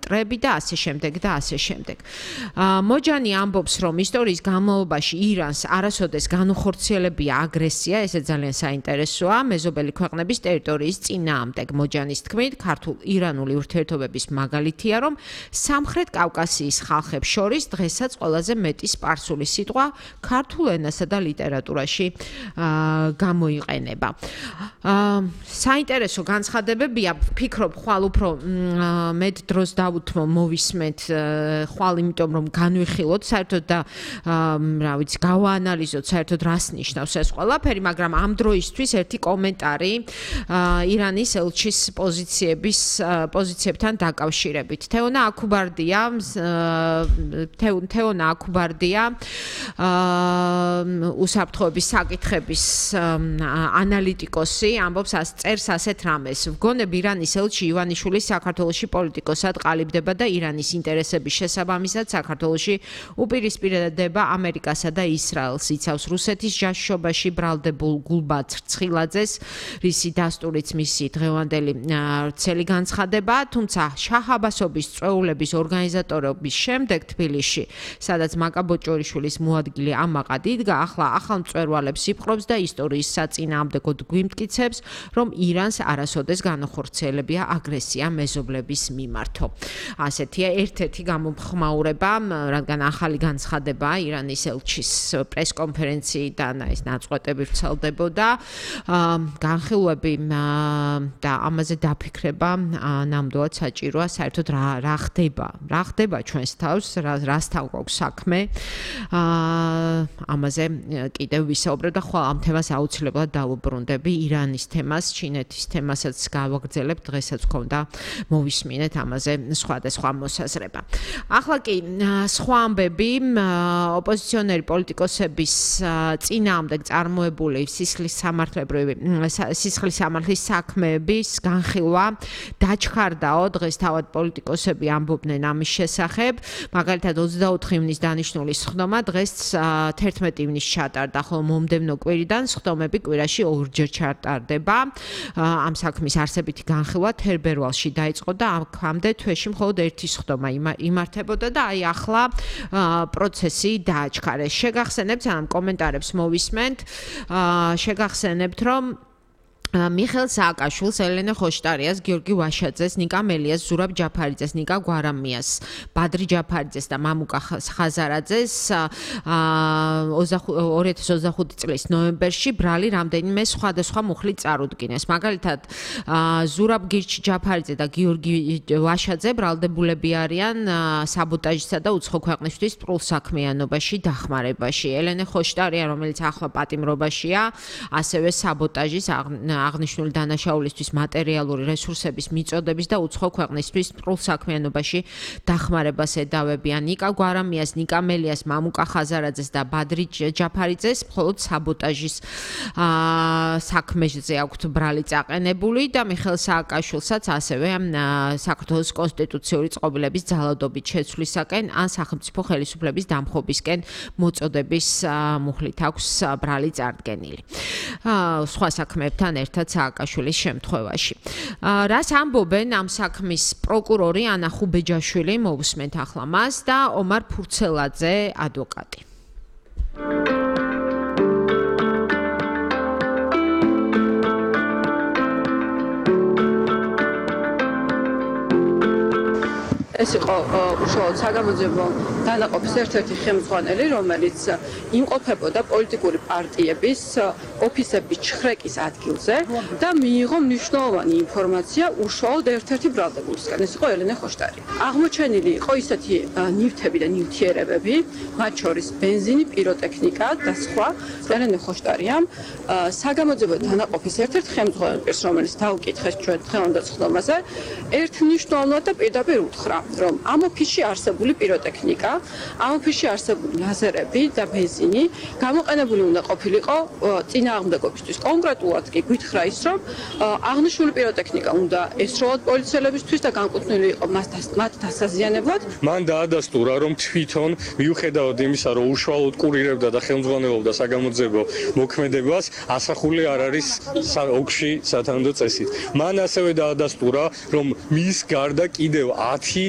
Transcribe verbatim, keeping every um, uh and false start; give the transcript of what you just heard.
პარამეტრები და ასე შემდეგ და ასე შემდეგ. მოჯანი ამბობს, რომ ისტორიის განმავლობაში ირანს არასოდეს განუხორციელებია აგრესია, ესე ძალიან საინტერესოა მეზობელი ქვეყნების ტერიტორიის წინააღმდეგ. მოჯანის თქმით, ქართულ-ირანული ურთიერთობების მაგალითია, რომ სამხრეთ კავკასიის ხალხებს შორის დღესაც ყველაზე მეტი სპარსული სიტყვა ქართულ ენასა და ლიტერატურაში გამოიყენება. საინტერესო განცხადებებია, ვფიქრობ, ხვალ უფრო მეტ დროს დავუთმო მოვისმენთ ხვალ, იმიტომ რომ განვიხილოთ საერთოდ და რა ვიცი, გავაანალიზოთ საერთოდ რას ნიშნავს ეს ყველაფერი, მაგრამ ამ დროისთვის ერთი კომენტარი ირანის ელჩის პოზიციების პოზიციებთან დაკავშირებით. თეონა აქუბარდია, თეონა აქუბარდია უსაფრთხოების საკითხების ანალიტიკოსი ამბობს, წერს ასეთ რამეს. ვგონებ ირანის ელჩი ივანიშვილის საქართველოში პოლიტიკოსად ყალიბდება და ირანის ინტერესების შესაბამისად საქართველოში უპირისპირდება ამერიკასა და ისრაელს. იცავს რუსეთის ჯაშუობაში ბრალდებულ გულბად ცხილაძეს, რისი დასტურიც მისი დღევანდელი ვრცელი განცხადება, თუმცა შაჰ-აბასობის წვეულების ორგანიზატორობის შემდეგ თბილისში, სადაც მაკაბოჭორიშვილის მოადგილე ამაყად იდგა, ახლა ახალ მწვერვალებს იპყრობს და ისტორიის საწინააღმდეგოდ გვიმტკიცებს, რომ ირანს არასოდეს განახორციელებია აგრესია მეზობლების მიმართო. ასეთია ერთ-ერთი გამომხმაურება, რადგან ახალი განცხადება ირანის ელჩის პრესკონფერენციიდან ეს ნაწყვეტები ვრცელდებოდა, განხილვები და ამაზე დაფიქრება ნამდვილად საჭიროა, საერთოდ რა რა ხდება, რა ხდება ჩვენს თავს, რასთან გვაქვს საქმე. ამაზე კიდევ ვისაუბრებ და ხვალ ამ თემას აუცილებლად დავუბრუნდები, ირანის თემას, ჩინეთის თემასაც გავაგრძელებ, დღესაც გქონდა მოვისმინეთ ამაზე სხვადასხვა მოსაზრება. ახლა კი სხვა ამბები, ოპოზიციონერი პოლიტიკოსების წინააღმდეგ წარმოებული სისხლის სამართლებრივი სისხლის სამართლის საქმეების განხილვა დაჩქარდაო, დღეს თავად პოლიტიკოსები ამბობდნენ ამის შესახებ, მაგალითად ოცდაოთხი ივნის დანიშნული სხდომა დღეს თერთმეტი ივნის ჩატარდა, ხოლო მომდევნო კვირიდან სხდომები კვირაში ორჯერ ჩატარდება. ამ საქმის არსებითი განხილვა თებერვალში დაიწყო და აქამდე თვეში მხოლოდ ერთი სხდომა იმართებოდა და აი ახლა პროცესი დააჩქარეს. შეგახსენებთ, ამ კომენტარებს მოვისმენთ, შეგახსენებთ, რომ მიხეილ სააკაშვილს, ელენე ხოშტარიას, გიორგი ვაშაძეს, ნიკა მელიას, ზურაბ ჯაფარიძეს, ნიკა გვარამიას, ბადრი ჯაფარიძეს და მამუკა ხაზარაძეს ორი ათას ოცდახუთი წლის ნოემბერში ბრალი რამდენიმე სხვადასხვა მუხლით წარუდგინეს. მაგალითად, ზურაბ გირჩი ჯაფარიძე და გიორგი ვაშაძე ბრალდებულები არიან საბოტაჟისა და უცხო ქვეყნისთვის სპრულ საქმიანობაში დახმარებაში. ელენე ხოშტარია, რომელიც ახლა პატიმრობაშია, ასევე საბოტაჟის აღნიშნული დანაშაულისთვის მატერიალური რესურსების მიწოდების და უცხო ქვეყნისთვის სპრულ საქმიანობაში დახმარებას ედავებიან. ნიკა გვარამიას, ნიკა მელიას, მამუკა ხაზარაძეს და ბადრი ჯაფარიძეს მხოლოდ საბოტაჟის საქმეზე აქვთ ბრალი წაყენებული და მიხეილ სააკაშვილსაც ასევე საქართველოს კონსტიტუციური წყობილების ძალადობით შეცვლისაკენ ან სახელმწიფო ხელისუფლების დამხობისკენ მოწოდების მუხლით აქვს ბრალი წარდგენილი. სხვა საქმეებთან ერთად სააკაშვილის შემთხვევაში. რას ამბობენ ამ საქმის პროკურორი ანა ხუბეჯაშვილი, მოვუსმენთ ახლა მას და ომარ ფურცელაძე, ადვოკატი. ეს იყო უშუალოდ საგამოძიებო დანაყოფის ერთ-ერთი ხელმძღვანელი, რომელიც იმყოფებოდა პოლიტიკური პარტიების ოფისების ჩხრეკის ადგილზე და მიიღო მნიშვნელოვანი ინფორმაცია უშუალოდ ერთ-ერთი ბრალდებულისგან. ეს იყო ელენე ხოშტარი. აღმოჩენილი იყო ისეთი ნივთები და ნივთიერებები, მათ შორის ბენზინი, პიროტექნიკა და სხვა. ელენე ხოშტარიამ საგამოძიებო დანაყოფის ერთ-ერთი ხელმძღვანელი პირს, რომელიც დაუკითხეს ჩვენ დღევანდელ სხდომაზე, ერთმნიშვნელოვნად და პირდაპირ უთხრა, რომ ამ ოფისში არსებული პიროტექნიკა, ამ ოფისში არსებული ლაზერები და ბენზინი გამოყენებული უნდა ყოფილიყო წინააღმდეგობისთვის. კონკრეტულად კი გითხრა ის, რომ აღნიშნული პიროტექნიკა უნდა ესროლოთ პოლიციელებისთვის და განკუთვნილი იყო მათ დასაზიანებლად. მან დაადასტურა, რომ თვითონ მიუხედავად იმისა, რომ უშუალოდ კურირებდა და ხელმძღვანელობდა საგამოძიებო მოქმედებას, ასახული არ არის ოგში სათანადო წესით. მან ასევე დაადასტურა, რომ მის გარდა კიდევ ათი